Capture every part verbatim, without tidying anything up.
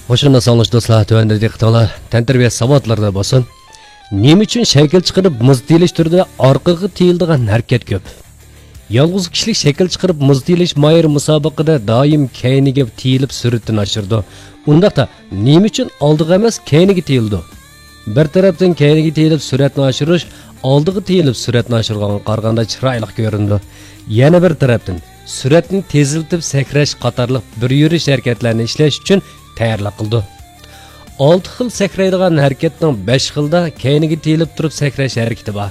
خوش ئاڭلىدىڭلار دوستلار، تۆۋەندە دىققىتىڭلار تەنتەربىيە ساۋاتلىرىدا بولسۇن. نېمە ئۈچۈن شەكىل چىقىرىپ مۇز تىيىلىش تۈرىدە ئارقىغا تىيىلىدىغان ھەرىكەت كۆپ؟ يالغۇز كىشىلىك شەكىل چىقىرىپ مۇز تىيىلىش ماھىرى مۇسابىقىدە دائىم كەينىگە تىيىلىپ سۈرئىتىنى ئاشۇرىدۇ. ئۇنداقتا نېمە ئۈچۈن ئالدىغا ئەمەس، كەينىگە تىيىلىدۇ؟ بىر تەرەپتىن كەينىگە تىيىلىپ سۈرئەتنى ئاشۇرۇش ئالدىغا تىيىلىپ سۈرئەتنى ئاشۇرغانغا قارىغاندا چىرايلىق كۆرۈنىدۇ. يەنە بىر تەرەپتىن سۈرئەتنى تېزلىتىپ سەكرەش قاتارلىق بىر يۈرۈش ھەرىكەتلەرنى ئىشلەش ئۈچۈن تەييارلىق قىلىدۇ. ئالتە خىل سەكرەيدىغان ھەرىكەتنىڭ بەش خىلدا كەينىگە تىيىلىپ تۇرۇپ سەكرەش ھەرىكىتى بار.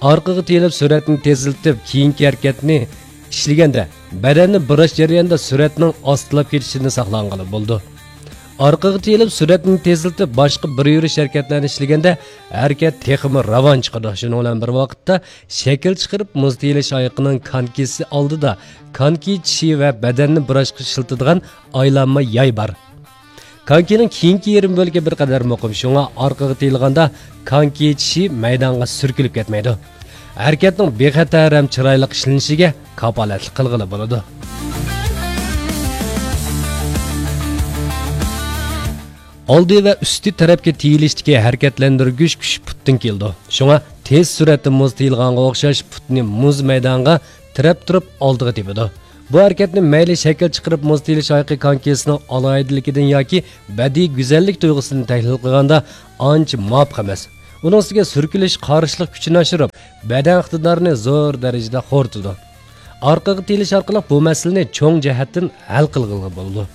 ئارقىغا تىيىلىپ سۈرئەتنى تېزلىتىپ كېيىنكى ھەرىكەتنى ئىشلىگەندە بەدەننى بۇراش جەريانىدا سۈرئەتنىڭ ئاستىلاپ كېتىشىدىن ساقلانغىلى بولىدۇ. ئارقىغا تىيىلىپ سۈرئەتنى تېزلىتىپ باشقا بىر يۈرۈش ھەرىكەتلەرنى ئىشلىگەندە ھەرىكەت تېخىمۇ راۋان چىقىدۇ. شۇنىڭ بىلەن بىر ۋاقىتتا شەكىل چىقىرىپ مۇز تىيىلىش ئايىقىنىڭ كانكىسى ئالدىدا كانكى چىشى ۋە بەدەننى بۇراشقا ئىشلىتىدىغان ئايلانما ياي بار. كانكىنىڭ كېيىنكى يېرىم بۆلىكى بىر قەدەر مۇقىم، شۇڭا ئارقىغا تىيىلغاندا كانكى چىشى مەيدانغا سۈركىلىپ كەتمەيدۇ. ھەرىكەتنىڭ بىخەتەر ھەم چىرايلىق ئىشلىنىشىگە كاپالەتلىك قىلغىلى بولىدۇ. ئالدى ۋە ئۈستى تەرەپكە تىيىلىشتىكى ھەرىكەتلەندۈرگۈچ كۈچ پۇتتىن كېلىدۇ. شۇڭا تېز سۈرئەتتە مۇز تىيىلغانغا ئوخشاش پۇتنى مۇز مەيدانغا تىرەپ تۇرۇپ ئالدىغا تېپىدۇ. بۇ ھەرىكەتنى مەيلى شەكىل چىقىرىپ مۇز تىيىلىش ئايىقى كانكىسىنىڭ ئالاھىدىلىكىدىن ياكى بەدىئىي گۈزەللىك تۇيغۇسىدىن تەھلىل قىلغاندا ئانچە مۇۋاپىق ئەمەس. ئۇنىڭ ئۈستىگە سۈركىلىش قارشىلىق كۈچىنى ئاشۇرۇپ، بەدەن ئىقتىدارىنى زور دەرىجىدە خورىتىدۇ. ئارقىغا تىيىلىش ئارقىلىق بۇ مەسىلىنى چوڭ جەھەتتىن ھەل قىلغىلى بولىدۇ.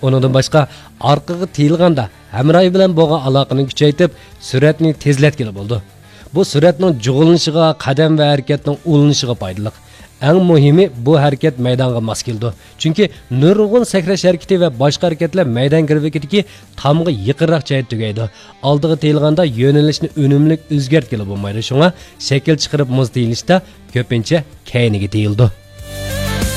ئۇنىڭدىن باشقا، ئارقىغا تىيىلغاندا ھەمراھى بىلەن بولغان ئالاقىنى كۈچەيتىپ، سۈرئەتنى تېزلەتكىلى بولىدۇ. بۇ سۈرئەتنىڭ جۇغلىنىشىغا، قەدەم ۋە ھەرىكەتنىڭ ئۇلىنىشىغا پايدىلىق. ئەڭ مۇھىمى، بۇ ھەرىكەت مەيدانغا ماس كېلىدۇ. چۈنكى نۇرغۇن سەكرەش ھەرىكىتى ۋە باشقا ھەرىكەتلەر مەيدان گىرۋىكىدىكى تامغا يېقىنراق جايدا تۈگەيدۇ. ئالدىغا تىيىلغاندا يۆنىلىشنى ئۈنۈملۈك ئۆزگەرتكىلى بولمايدۇ. شۇڭا شەكىل چىقىرىپ مۇز تىيىلىشتا كۆپىنچە كەينىگە تىيىلىدۇ.